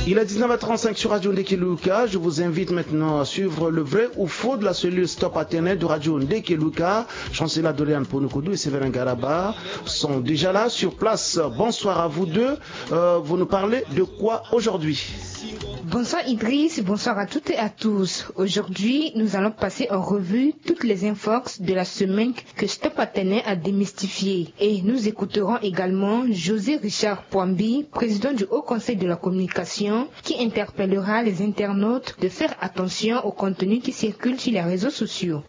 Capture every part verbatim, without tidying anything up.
Il est dix-neuf heures trente-cinq sur Radio Ndekeluka. Je vous invite maintenant à suivre le vrai ou faux de la cellule Stop Atene de Radio Ndekeluka. Chancela Dorian Ponukudu et Séverin Garaba sont déjà là sur place. Bonsoir à vous deux. Euh, vous nous parlez de quoi aujourd'hui ? Bonsoir Idriss, bonsoir à toutes et à tous. Aujourd'hui, nous allons passer en revue toutes les infox de la semaine que Stop Atene a démystifiées. Et nous écouterons également José Richard Poambi, président du Haut Conseil de la Communication, qui interpellera les internautes de faire attention au contenu qui circule sur les réseaux sociaux.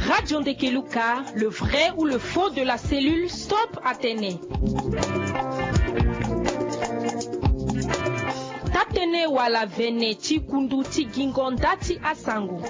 Radio Ndekeluka, le vrai ou le faux de la cellule Stop Atene. Tatene wala vene ti kundu ti gingo nda ti asango.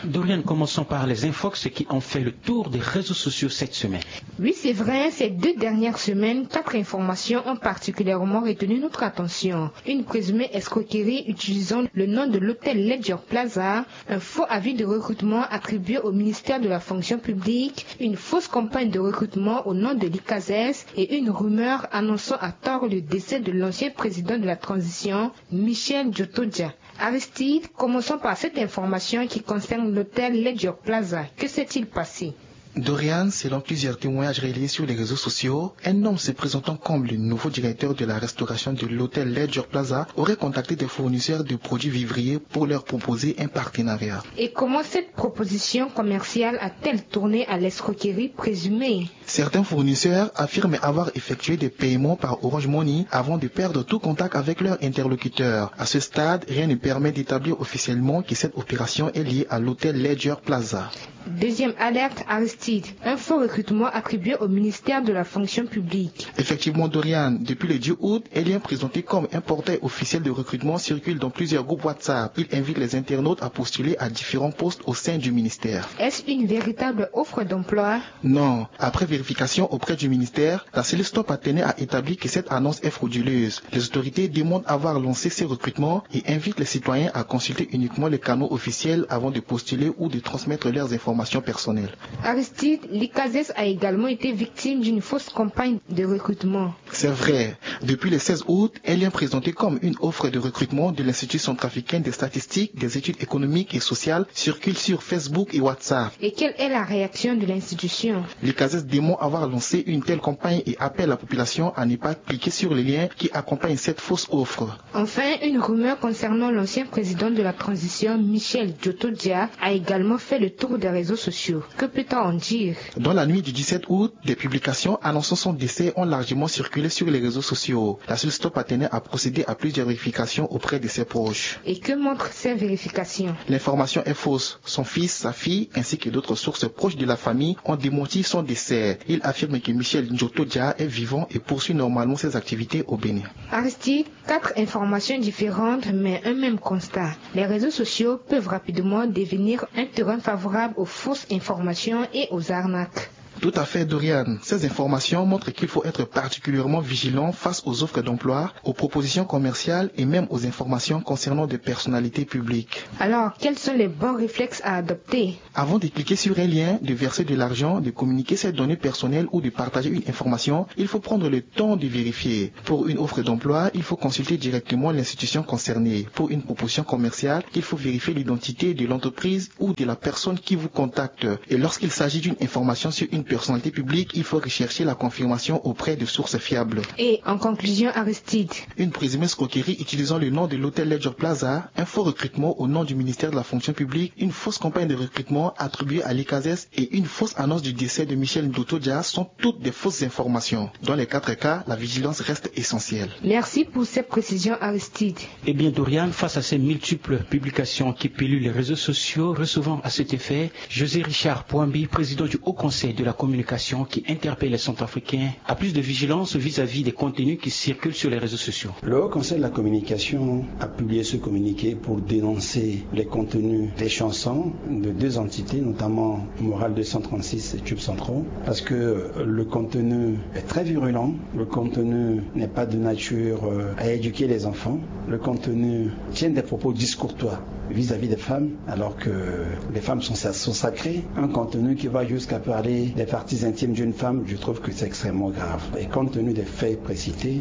Dorian, commençons par les infox qui ont fait le tour des réseaux sociaux cette semaine. Oui, c'est vrai, ces deux dernières semaines, quatre informations ont particulièrement retenu notre attention. Une présumée escroquerie utilisant le nom de l'hôtel Ledger Plaza, un faux avis de recrutement attribué au ministère de la fonction publique, une fausse campagne de recrutement au nom de l'ICASES et une rumeur annonçant à tort le décès de l'ancien président de la transition, Michel Djotodia. Aristide, commençons par cette information qui concerne l'hôtel Ledger Plaza. Que s'est-il passé ? Dorian, selon plusieurs témoignages relayés sur les réseaux sociaux, un homme se présentant comme le nouveau directeur de la restauration de l'hôtel Ledger Plaza aurait contacté des fournisseurs de produits vivriers pour leur proposer un partenariat. Et comment cette proposition commerciale a-t-elle tourné à l'escroquerie présumée ? Certains fournisseurs affirment avoir effectué des paiements par Orange Money avant de perdre tout contact avec leur interlocuteur. À ce stade, rien ne permet d'établir officiellement que cette opération est liée à l'hôtel Ledger Plaza. Deuxième alerte, Aristide. Un faux recrutement attribué au ministère de la fonction publique. Effectivement, Dorian, depuis le dix août, un lien présenté comme un portail officiel de recrutement circule dans plusieurs groupes WhatsApp. Il invite les internautes à postuler à différents postes au sein du ministère. Est-ce une véritable offre d'emploi ? Non. Après vérification auprès du ministère, la cellule Stop Atene a établi que cette annonce est frauduleuse. Les autorités demandent avoir lancé ces recrutements et invitent les citoyens à consulter uniquement les canaux officiels avant de postuler ou de transmettre leurs informations personnelles. Aristide, l'ICASES a également été victime d'une fausse campagne de recrutement. C'est vrai. Depuis le seize août, un lien présenté comme une offre de recrutement de l'Institut centrafricain des statistiques, des études économiques et sociales circule sur Facebook et WhatsApp. Et quelle est la réaction de l'institution ? L'ICASES dément avoir lancé une telle campagne et appelle la population à ne pas cliquer sur les liens qui accompagnent cette fausse offre. Enfin, une rumeur concernant l'ancien président de la transition, Michel Djotodia, a également fait le tour des réseaux sociaux. Que peut-on en dire ? Dans la nuit du dix-sept août, des publications annonçant son décès ont largement circulé sur les réseaux sociaux. La cellule Stop Atene a procédé à plusieurs vérifications auprès de ses proches. Et que montrent ces vérifications ? L'information est fausse. Son fils, sa fille, ainsi que d'autres sources proches de la famille ont démenti son décès. Ils affirment que Michel Djotodia est vivant et poursuit normalement ses activités au Bénin. Aristide, quatre informations différentes, mais un même constat. Les réseaux sociaux peuvent rapidement devenir un terrain favorable aux fausses informations et aux arnaques. Tout à fait, Dorian. Ces informations montrent qu'il faut être particulièrement vigilant face aux offres d'emploi, aux propositions commerciales et même aux informations concernant des personnalités publiques. Alors, quels sont les bons réflexes à adopter ? Avant de cliquer sur un lien, de verser de l'argent, de communiquer ses données personnelles ou de partager une information, il faut prendre le temps de vérifier. Pour une offre d'emploi, il faut consulter directement l'institution concernée. Pour une proposition commerciale, il faut vérifier l'identité de l'entreprise ou de la personne qui vous contacte. Et lorsqu'il s'agit d'une information sur une personnalité publique, il faut rechercher la confirmation auprès de sources fiables. Et en conclusion, Aristide. Une présumée escroquerie utilisant le nom de l'hôtel Ledger Plaza, un faux recrutement au nom du ministère de la fonction publique, une fausse campagne de recrutement attribuée à l'ICASES et une fausse annonce du décès de Michel Djotodia sont toutes des fausses informations. Dans les quatre cas, la vigilance reste essentielle. Merci pour ces précisions, Aristide. Eh bien, Dorian, face à ces multiples publications qui polluent les réseaux sociaux, recevons à cet effet José Richard Poambi, président du Haut Conseil de la communication, qui interpelle les Centrafricains à plus de vigilance vis-à-vis des contenus qui circulent sur les réseaux sociaux. Le Haut Conseil de la communication a publié ce communiqué pour dénoncer les contenus des chansons de deux entités, notamment Moral deux cent trente-six et Tube Centraux, parce que le contenu est très virulent, le contenu n'est pas de nature, euh, à éduquer les enfants, le contenu tient des propos discourtois. vis-à-vis des femmes, alors que les femmes sont, sont sacrées. Un contenu qui va jusqu'à parler des parties intimes d'une femme, je trouve que c'est extrêmement grave. Et compte tenu des faits précités,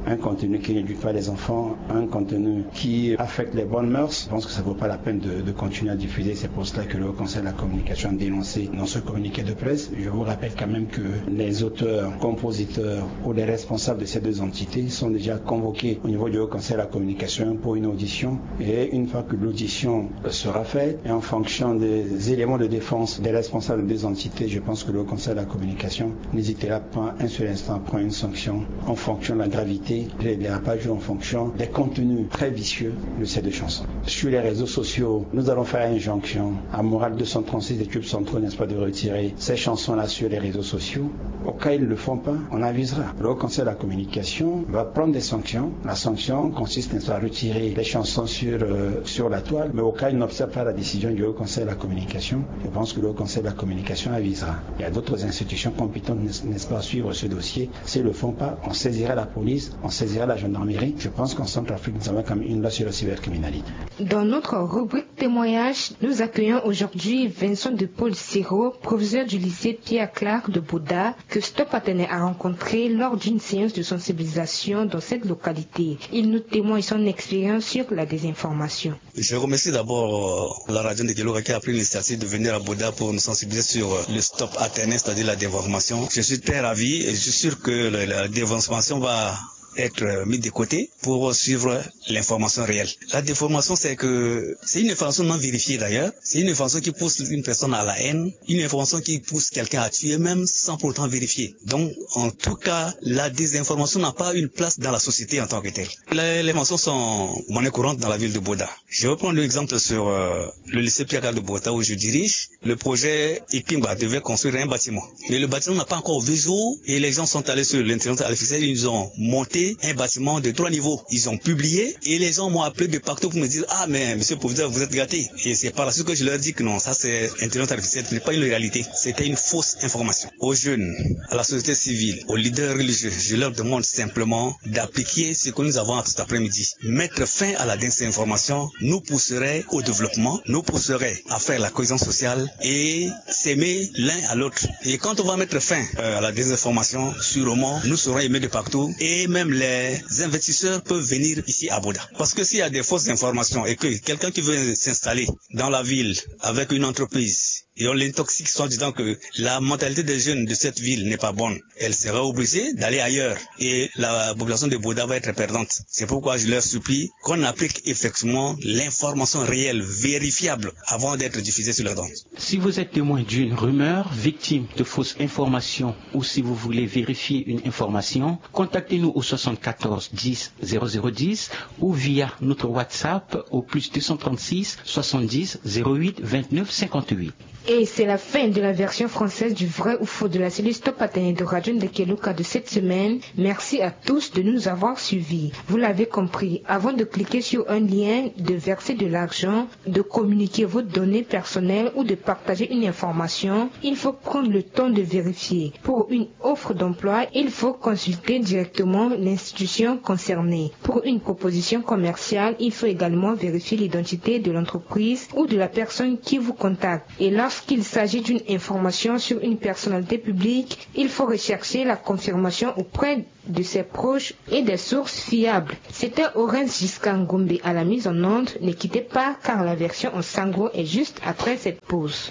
un contenu qui n'éduque pas les enfants, un contenu qui affecte les bonnes mœurs, je pense que ça ne vaut pas la peine de, de continuer à diffuser. C'est pour cela que le Haut Conseil de la Communication a dénoncé dans ce communiqué de presse. Je vous rappelle quand même que les auteurs, compositeurs ou les responsables de ces deux entités sont déjà convoqués au niveau du Haut Conseil de la Communication pour une audition. Et une fois que l'audition sera faite, et en fonction des éléments de défense des responsables des entités, je pense que le Haut Conseil de la Communication n'hésitera pas un seul instant à prendre une sanction en fonction de la gravité des dérapages ou en fonction des contenus très vicieux de ces deux chansons. Sur les réseaux sociaux, nous allons faire injonction à Moral deux cent trente-six et Tube cent trois, n'est-ce pas, de retirer ces chansons-là sur les réseaux sociaux. Au cas où ils ne le font pas, on avisera. Le Haut Conseil de la Communication va prendre des sanctions. La sanction consiste, n'est-ce pas, à retirer les chansons sur, euh, sur la toile, mais au cas où ils n'observent pas la décision du Haut Conseil de la Communication, je pense que le Haut Conseil de la Communication avisera. Il y a d'autres institutions compétentes, n'est-ce pas, à suivre ce dossier. S'ils ne le font pas, on saisira la police, on saisira la gendarmerie. Je pense qu'en Centrafrique, nous avons quand même une loi sur la cybercriminalité. Dans notre rubrique témoignage, nous accueillons aujourd'hui Vincent de Paul Siro, professeur du lycée Pierre Clark de Bouda, que Stop Atene a rencontré lors d'une séance de sensibilisation dans cette localité. Il nous témoigne son expérience sur la désinformation. Je remercie d'abord, euh, la radio de Keloka qui a pris l'initiative de venir à Bouda pour nous sensibiliser sur, euh, le Stop Atene, c'est-à-dire la désinformation. Je suis très ravi et je suis sûr que le, la désinformation va être, euh, mise de côté pour suivre l'information réelle. La déformation, c'est que c'est une information non vérifiée d'ailleurs. C'est une information qui pousse une personne à la haine, une information qui pousse quelqu'un à tuer même sans pourtant vérifier. Donc, en tout cas, la désinformation n'a pas une place dans la société en tant que telle. Les, les mensonges sont monnaie courante dans la ville de Bouda. Je vais prendre l'exemple sur, euh, le lycée Pierre Clark de Bouda où je dirige. Le projet Ipimba devait construire un bâtiment. Mais le bâtiment n'a pas encore vu jour et les gens sont allés sur l'intelligence artificielle, ils ont monté un bâtiment de trois niveaux. Ils ont publié et les gens m'ont appelé de partout pour me dire : « Ah, mais monsieur le proviseur, vous êtes gâté. » Et c'est par la suite que je leur dis que non, ça c'est intelligence artificielle, ce n'est pas une réalité. C'était une fausse information. Aux jeunes, à la société civile, aux leaders religieux, je leur demande simplement d'appliquer ce que nous avons cet après-midi. Mettre fin à la désinformation nous pousserait au développement, nous pousserait à faire la cohésion sociale et s'aimer l'un à l'autre. Et quand on va mettre fin, euh, à la désinformation, sûrement, nous serons aimés de partout et même les investisseurs peuvent venir ici à Bouda. Parce que s'il y a des fausses informations et que quelqu'un qui veut s'installer dans la ville avec une entreprise, et on l'intoxique soi-disant que la mentalité des jeunes de cette ville n'est pas bonne, elle sera obligée d'aller ailleurs et la population de Bouda va être perdante. C'est pourquoi je leur supplie qu'on applique effectivement l'information réelle, vérifiable, avant d'être diffusée sur la bande. Si vous êtes témoin d'une rumeur, victime de fausses informations ou si vous voulez vérifier une information, contactez-nous au soixante-quatorze dix zéro zéro dix ou via notre WhatsApp au plus deux cent trente-six soixante-dix zéro huit vingt-neuf cinquante-huit. Et c'est la fin de la version française du Vrai ou Faux de la cellule Stop Atene de Radio Ndekeluka de cette semaine. Merci à tous de nous avoir suivis. Vous l'avez compris, avant de cliquer sur un lien, de verser de l'argent, de communiquer vos données personnelles ou de partager une information, il faut prendre le temps de vérifier. Pour une offre d'emploi, il faut consulter directement l'institution concernée. Pour une proposition commerciale, il faut également vérifier l'identité de l'entreprise ou de la personne qui vous contacte. Et lorsqu'il s'agit d'une information sur une personnalité publique, il faut rechercher la confirmation auprès de ses proches et des sources fiables. C'était Horace Giscard Ngombe à la mise en onde. Ne quittez pas, car la version en sango est juste après cette pause.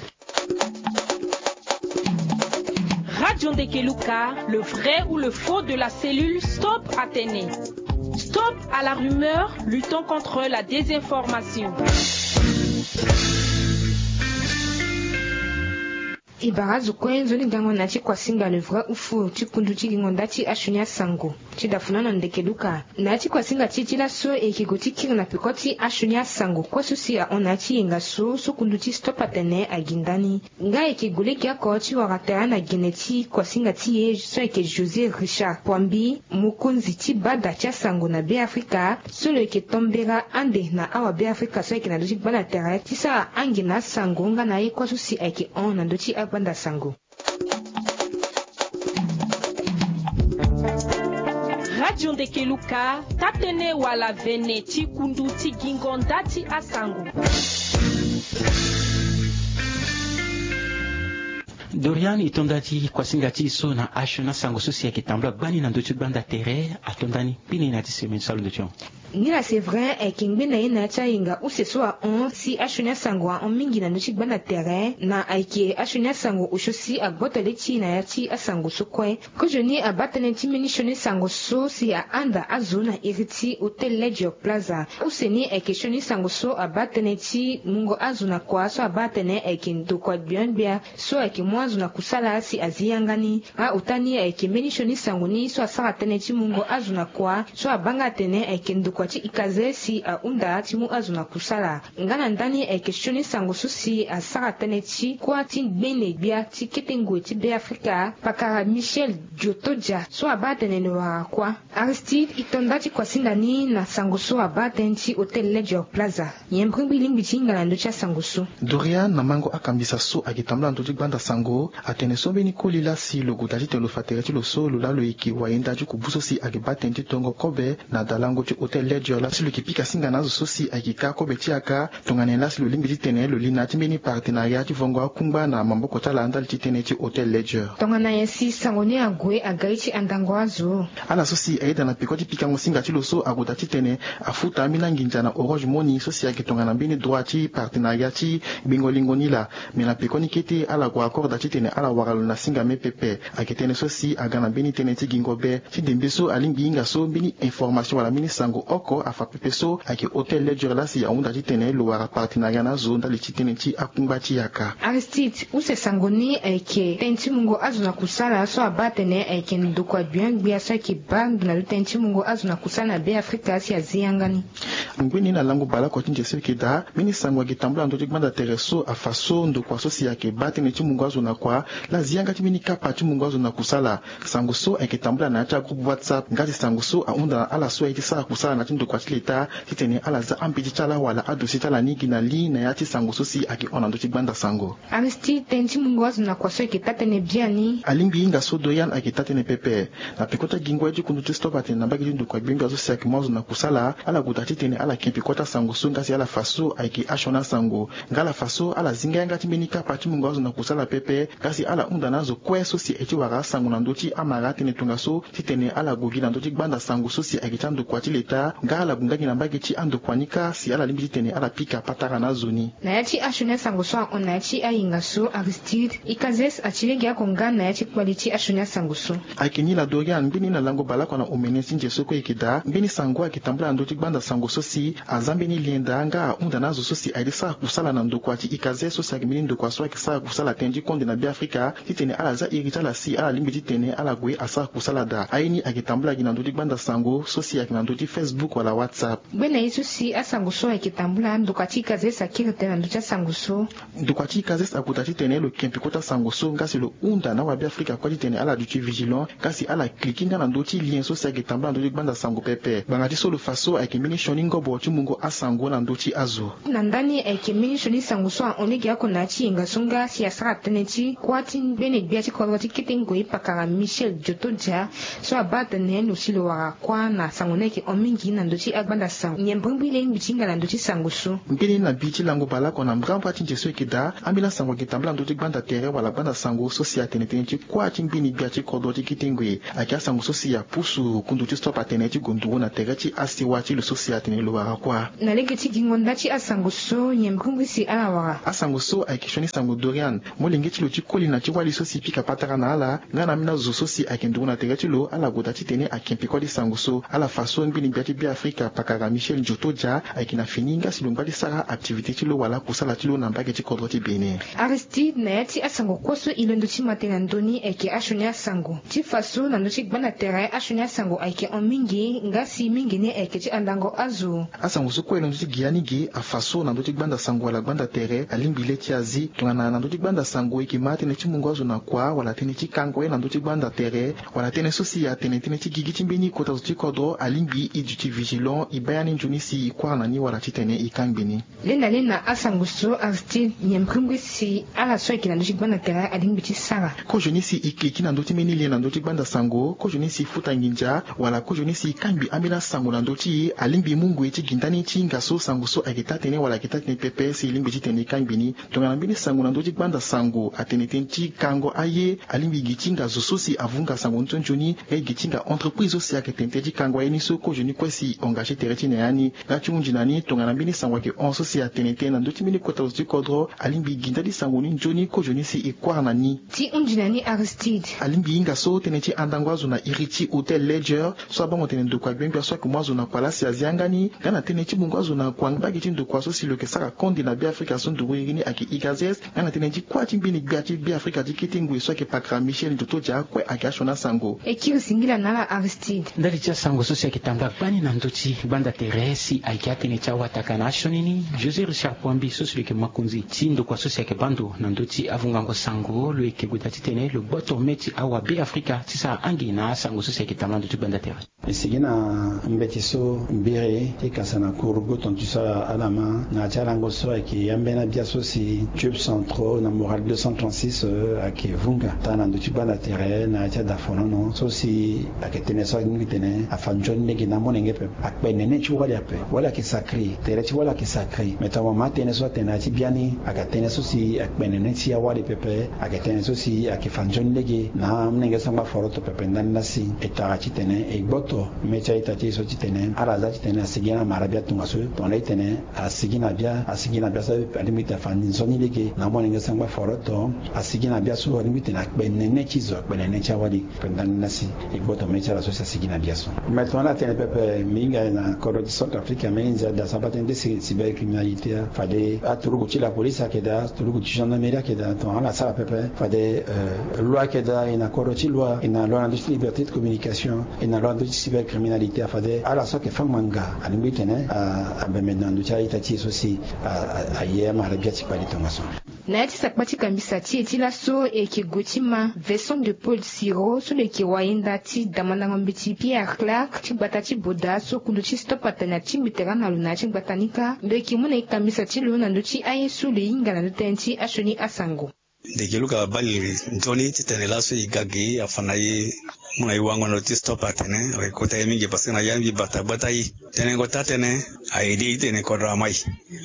Radio Ndekeluka, le vrai ou le faux de la cellule Stop Atene. Stop à la rumeur, luttons contre la désinformation. E bara azo kue nzoni gango na ya ti kuasinga le vrai ou faux ti kundu ti gingo nda ti asioni asango ti dafuna na Ndekeluka. Na ya ti kuasinga ti e ti laso e yeke gue ti kiri na peko ti asioni asango kue so si ahon na ya ti yenga so so kundu ti Stop Atene agi ndani. Nga e yeke gue lege oko ti wara tere na gene ti kuasinga ti e so ayeke José Richard Poambi, mokonzi ti bada ti asango na Beafrika, so lo yeke tombera ande na awa Beafrika so ayeke na ndö ti gbanda tere ti sara ange na asango nga na aye kue so si ayeke hon na ndö ti agbanda sango. Ti ondeke luka, taa-tënë wala vene ti kundu ti gingo nda ti asango. Dorian, e to nda ti kuasinga ti e so na asioni asango so si ayeke tambula gbani na ndö ti gbanda tere, ato nda ni pine na ya ti semaine so alondo ti hon. Ni la Séverin ayeke ngbene na ye na ya ti ahinga use so ahon si asioni asango ahon mingi na ndö ti gbanda tere, na ayeke asioni asango osio si agboto le ti e na ya ti asango so kue. Kozoni abaa tënë ti mbeni sioni sango so si ahanda azo na iri ti Hôtel Ledger Plaza. Use ni ayeke sioni sango so abaa tënë ti mungo azo na kua so abaa atene ayeke ndokua gbia gbia so ayeke mu azo na kusala si azi yanga ni. Aota ni ayeke mbeni sioni sango ni so asara tënë ti mungo azo na kua so abaa nga atene ayeke ndokua ti ikaze si ahunda ti mu azo na kusala. Nga na ndani ayeke sioni sango so si asara tënë ti kuâ ti ngbene gbia ti kete ngoi ti Beafrika, pakara Michel Diotodia so abaa atene lo wara kuâ. Aristide, e to nda ti kuasinda ni na sango so abaa tënë ti Hôtel Ledger Plaza. Nyen mbirimbiri lingbi ti hinga na ndö ti asango so? Dorian, na mango akambisa so ayeke tambula na ndö ti gbanda sango, atene so mbeni koli laa si lo gue daa titene lo fa tere ti lo so, lo laa lo yeke wayenda ti kubu so si ayeke baa tënë ti tongo kobe na dalango ti Hôtel Ledger laa si lo yeke pika singa na azo so si ayeke ka kobe ti yaka. Tongana nyen laa si lo lingbi titene lo li na ya ti mbeni partenariat ti vongo akungba na maboko ti ala ndali ti tënë ti Hôtel Ledger? Tongana nyen si sango ni ague aga ye ti andango azo? Ala so si ayeda na peko ti pikango singa ti lo so ague daa titene afuta ambeni anginza na Orange Money so si ayeke tongana mbeni droit ti partenariat ti gbengo lingo ni laa. Me na pekoni kete ala gue accord daa titene ala wara lo na singa me pepe. Ayeke tënë so si aga na mbeni tënë ti gingo be. Ti ndembe so alingbi hinga so mbeni information wala mbeni sango oko afa pepe so ayeke Hôtel Ledger laa si ahunda titene lo wara partenariat na azo ndali ti tënë ti akungba ti yaka. Aristide, use sango ni ayeke tënë ti mungo azo na kusala so abaa atene ayeke ndokua gbia gbia so ayeke baa ngi na lo tënë ti mungo azo na kusala na Beafrika si azi yanga ni. Ngbeni na lango baleoko ti nze so e yeke daa, mbeni sango ayeke tambula na ndö ti gbanda tere so afa so ndokua so si ayeke baa tënë ti mungo azo na kua laa azi yanga ti mbeni kapa ti mungo azo na kusala. Sango so ayeke tambula na ya ti agroupe WhatsApp, nga si sango so ahunda na ala so aye ti sara kusala na ya ti ndokua ti leta titene ala za ambeti ti ala wala adossier ti ala ni gi na li na ya ti sango so si ayeke hon na ndö ti gbanda sango. Aristide, tënë ti mungo azo na kua so ayeke taa-tënë biani. Alingbi hinga so Dorian ayeke taa-tënë pepe. Na peko ti agingo ye ti kundu ti stop atene na mbage ti ndokua gbia gbia so si ayeke mu azo na kusala, ala gue daa titene ala ke peko ti asango so nga si ala fa so ayeke asioni asango. Nga ala fa so ala zinga yanga ti mbeni kapa ti mungo azo na kusala pepe, nga si ala hunda na azo kue so si aye ti wara asango na ndö ti amara atënë tongaso titene ala gue gi na ndö ti gbanda sango so si ayeke ti andokua ti leta, nga ala gue nga gi na mbage ti andokua ni kâ si ala lingbi titene ala pika patara na azo ni. Na ya ti asioni asango so ahon na ya ti ahinga so, Aristide, Ikazes ati lege oko nga na ya ti kpali ti asioni asango so. Ayeke ni laa Dorian, ngbeni na lango baleoko na omene ti nze so kue e yeke daa, ngbeni sango ayeke tambula na ndö ti gbanda sango so si aza mbeni lien daa nga ahunda na azo so si aye ti sara kusala na ndokua ti Ikazes so si ayeke mbeni ndokua so ayeke sara kusala tënë ti konde na Beafrika, titene ala za iri ti ala si ala lingbi titene ala gue asara kusala daa. Aye ni ayeke tambula gi na ndö ti gbanda sango so si ayeke na ndö ti Facebook wala WhatsApp. Ngbene ye so si asango so ayeke tambula, ndokua ti Ikazes akiri tënë na ndö ti asango so. Ndokua ti Ikazes ague daa titene lo ke peko ti asango so nga si lo hunda na awabeafrika kue titene ala duti vigilant, nga si ala cliquer nga na ndö ti lien so si ayeke tambula na ndö ti gbanda sango pepe. Ngbanga ti so lo fa so ayeke mbeni sioni ngobo ti mungo asango na ndö ti azo. Na ndani ayeke mbeni sioni sango so ahon lege oko na ya ti yenga so nga si asara tënë ti kuâ ti ngbene gbia ti kodro ti kete ngoi pakara Michel Diotodia so abaa atene lo si lo wara kuâ na sango ni ayeke hon mingi na ndö ti agbanda sango. Nyen mbirimbiri lingbi ti hinga na ndö ti sango so? Ngbeni na bi ti lango baleoko na mbrambra ti nze so e yeke daa, ambeni asango ayeke tambula na ndö ti gbanda tere wala gbanda sango so si atene tënë ti kuâ ti ngbene gbia ti kodro ti kete ngoi. Ayeke asango so si apusu kundu ti stop atene ti gue nduru na tere ti asewa ti lo so si atene lo wara kuâ. Na lege ti gingo nda ti asango so, nyen mbirimbiri si ala wara? Asango so ayeke sioni sango Dorian. Molenge ti lo ti koli na ti wali so si pika patara na ala nga na ambeni azo so si ayeke nduru na tere ti lo, ala gue daa titene ake peko ti sango so. Ala fa so ngbene gbia ti Beafrika pakara Michel Diotodia ayeke na fini nga si lo ngba ti sara activité ti lo wala kusala ti lo na mbage ti kodro ti Bénin. Aristide, na ya ti asango kue so e londo ti ma tënë na ndö ni ayeke asioni asango. Ti fa so na ndö ti gbanda tere asioni asango ayeke hon mingi, nga si mingi ni ayeke ti andango azo. Asango so kue e londo ti gi ya ni ge afa so na ndö ti gbanda sango wala gbanda tere alingbi le ti azi. Tongana na ndö ti gbanda sango e yeke ma tënë ti mungo azo na kua wala tënë ti kango ye na ndö ti gbanda tere, wala tënë so si atene tënë ti gigi ti mbeni kota zo ti kodro alingbi e duti Vigilant e baa ya ni nzoni si e kuâ na ni wala titene e kangbi ni. Lenda lenda asango so Aristide nyen mbrimbri si ala so ayeke na ndö ti gbanda tere alingbi ti sara? Kozoni si e kiki na ndö ti mbeni lien na ndö ti gbanda sango, kozoni si e futa nginza wala kozoni si e kangbi ambeni asango na ndö ti e, alingbi e mu ngoi ti gi ndani ti hinga so sango so ayeke taa-tënë wala ayeke taa-tënë pepe si e lingbi titene e kangbi ni. Tongana mbeni sango na ndö ti gbanda sango atene tënë ti kango aye, alingbi gi ti hinga zo so si avunga sango ni so nzoni, nga e gi ti hinga entreprise so si ayeke tene tënë ti kango aye ni so kozoni kue si e engagé tere ti na ya ni. Nga ti hunzi na ni tongana mbeni sango ayeke hon so si atene tënë na ndö ti mbeni kota zo ti kodro, alingbi gi ndali sango ni nzoni kozoni si e kuâ na ni. Ti hunzi na ni Aristide. Alingbi hinga so tënë ti andango azo na iri ti Hôtel Ledger, so abango tene ndokua gbengbia so ayeke mu azo na kua laa si azi yanga ni, nga na tënë ti mungo azo na kua mbage ti ndokua so si lo yeke sara konde na Beafrika so nduru iri ni ayeke IGADES, nga na tënë ti kuâ ti mbeni gbia ti Beafrika ti kete ngoi so ayeke pakara Michel Ntoto Dia kue ayeke asioni asango. E kiri singila na ala Aristide. Ndali ti asango so si ayeke tambula gbani na ndö ti gbanda tere si ayeke atënë ti awataka na asioni ni, José Richard Poambi so si lo yeke mokonzi ti ndokua so si ayeke baa ndo na ndö ti avungango sango, lo yeke gue daa titene lo gboto mê ti awa Beafrika ti sara angi na asango so si ayeke tambula na ndö ti gbanda tere. E sigi na mbeti so mbiri ti kasa na kuru gboto ti so ala ma na ya ti alango so ayeke ambeni abia so si tube centraux na Morale deux cent trente-six, euh, ayeke vunga taa na ndö ti gbanda tere na ya ti adafonono so si ayeke tënë so alingbi tene afa nzoni lege na amolenge pepe. Akpe nene ti wali ape. Wali ayeke sacré. Tere ti wali ayeke sacré. Mais tongana mo ma tënë so atene na ya ti biani, ayeke tënë so si akpe nene ti awali pepe. Ayeke tënë so si ayeke fa nzoni lege na amolenge sangba foroto pepe ndani laa si e tara titene e gboto mê ti a-ita ti e so titene ala za titene asigi na mara bia tongaso. Tongana e tene asigi na bia, asigi na bia so alingbi tene afa nzoni lege na amolenge sangba foroto. Asigi na bia so alingbi tene akpe nene ti zo, akpe nene ti awali. Pendani laa si e gboto mê ti ala so si asigi na bia so. Mais tongana atene pepe mbi hinga na kodro ti Centrafrique, ambeni nzia daa so abaa tënë ti cybercriminalité, fade aturugu ti la police ayeke daa, aturugu ti gendarmerie ayeke daa. Tongana ala sara pepe fade, euh, loi ayeke daa, e na kodro ti loi, e na loi na ndö ti liberté de communication, e na loi na ndö ti cybercriminalité, fade ala so ayeke fâ ngbanga alingbi tene, ah, abembe na ndö ti a-ita ti e so si, ah, ah, aye amara bia ti kpale tongaso. Na ya ti sakpa ti kambisa ti e ti laso, e yeke gue ti ma Vincent de Paul Siro so lo yeke wayenda ti damandango mbeti Pierre Clark ti gbata ti Boda so kundu ti Stop atene atingbi tere na lo na ya ti gbata ni kâ. Lo yeke mu na e kambisa ti lo na ndö ti aye so lo hinga na ndö tënë ti asioni asango. Ndeke Luka abali nzoni titene laso e ga ge afa na e, mu na e wango na ndö ti Stop atene, ayeke kota e mingi parce que na ya mbi bata gbata e. Tenengo taa-tënë a-ede e titene kodro amai.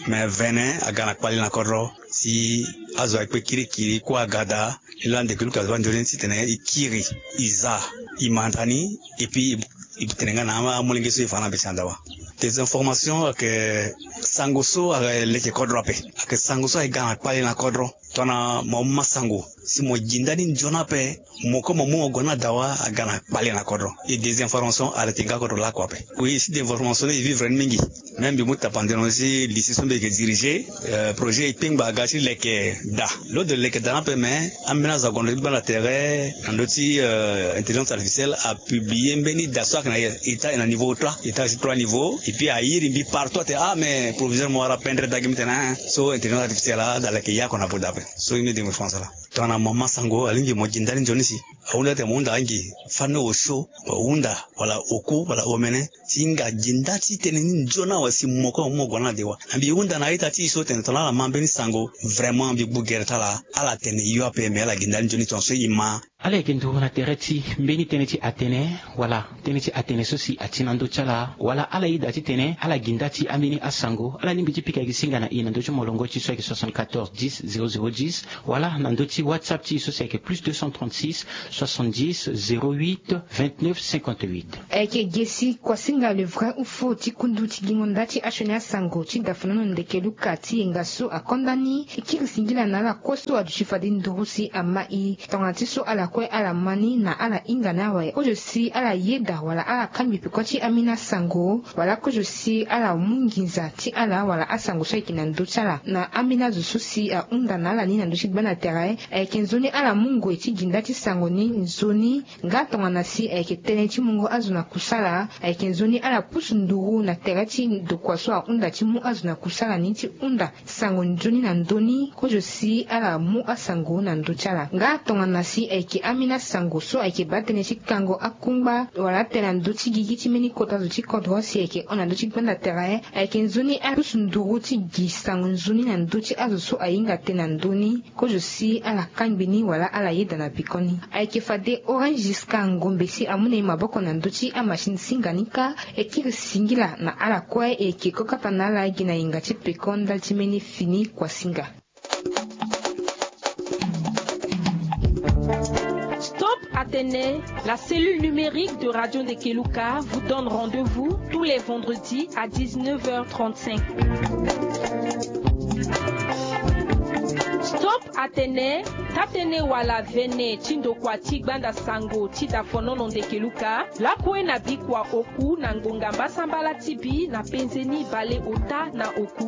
Me vene aga na kpale na kodro si azo akpe kirikiri kue aga daa. Laa ndeke Luka abaa nzoni titene e kiri, e za, e manda ni, et puis e tene nga na amolenge so e fa na mbeti na dawa. Désinformation ayeke sango so aleke kodro ape. Ayeke sango so ayeke ga na kpale na kodro. Tongana mo ma sango si mo gi ndani nzoni ape, mo kue mo mu mo gue na dawa aga na kpale na kodro. E désinformation arrêté nga kodro lakue ape. Oui, si désinformation ni e vivre ni mingi. Même mbi mu tapande na ndö ti lycée so mbi yeke diriger, euh, projet e kpengba aga ti leke da. Lo de leke da ni ape, mais ambeni azo ague na ndö ti gbanda tere na ndö ti, euh, intelligence artificielle a publier mbeni da so ayeke na état, e na niveau trois, état ti trois niveau. Et puis a iri mbi partout atene, ah, mais proviseur mo wara pendre da gi, mbi tene, hein. So intelligence artificielle ada leke ya oko na vo da ape. So ye mbi dengo fa na sala. Tongana mo ma sango, alingbi mo gi ndani nzoni si ahunda titene mo hunda angi, fani osio, mo hunda wala oku wala omene, si hinga gi nda ti tënë ni nzoni awe si mo kue mo mu mo gue na dewa. Na mbi hunda na a-ita ti e so tene tongana ala ma mbeni sango, vraiment mbi gbu gere ti ala, ala tene yo ape, me ala gi ndani nzoni tongaso e ma. Ala yeke nduru na tere ti mbeni tënë ti atene, wala tënë ti atene so si ati na ndö ti ala, wala ala yeda titene ala gi nda ti ambeni asango, ala lingbi ti pika gi singa na e na ndö ti molongo ti e so ayeke soixante-quatorze dix zéro zéro dix, wala na ndö ti WhatsApp ti e so si ayeke plus deux cent trente-six soixante-dix zéro huit vingt-neuf cinquante-huit. Ayeke ge si kuasinga le vrai ou faux ti kundu ti gingo nda ti asioni asango ti dafonono ndeke Luka ti yenga so akonda ni, e kiri singila na ala kue so aduti fade nduru si ama e. Tongana ti so ala kue ala ma ni na ala hinga ni awe, kozo si ala yeda wala ala kangbi peko ti ambeni asango, wala kozo si ala mu nginza ti ala wala asango so ayeke na ndö ti ala na ambeni azo so si ahunda na ala ni na ndö ti gbanda tere. Ayeke nzoni ala mu ngoi ti gi nda ti sango ni nzoni. Nga tongana si ayeke tënë ti mungo azo na kusala, ayeke nzoni ala pusu nduru na tere ti ndokua so ahunda ti mu azo na kusala ni ti hunda sango nzoni na ndö ni, kozo si ala mu asango na ndö ti ala. Nga tongana si ayeke Ambeni asango so ayeke baa tënë ti kango akungba wala atene na ndö ti gigi ti mbeni kota zo ti kodro si ayeke hon na ndö ti gbanda tere. Ayeke nzoni apusu nduru ti gi sango nzoni na ndö ti azo so ahinga tënë na ndö ni. Kozo si ala kangbi ni wala ala yeda na pekoni. Ayeke fade orange jusqu'à ngombe si amu na e maboko na ndö ti amachine singa ni kâ. E kiri singila na ala kue e yeke kokapa na ala gi na yinga ti peko ndali ti mbeni fini kuasinga. Stop Atene, la cellule numérique de Radio Ndekeluka vous donne rendez-vous tous les vendredis à dix-neuf heures trente-cinq. Stop Atene, tatene wala vene ti ndokua ti gbanda sango ti dafonono Ndekeluka lakue na bikua oku na ngonga mbasambala ti bi na penze ni bale ota na oku.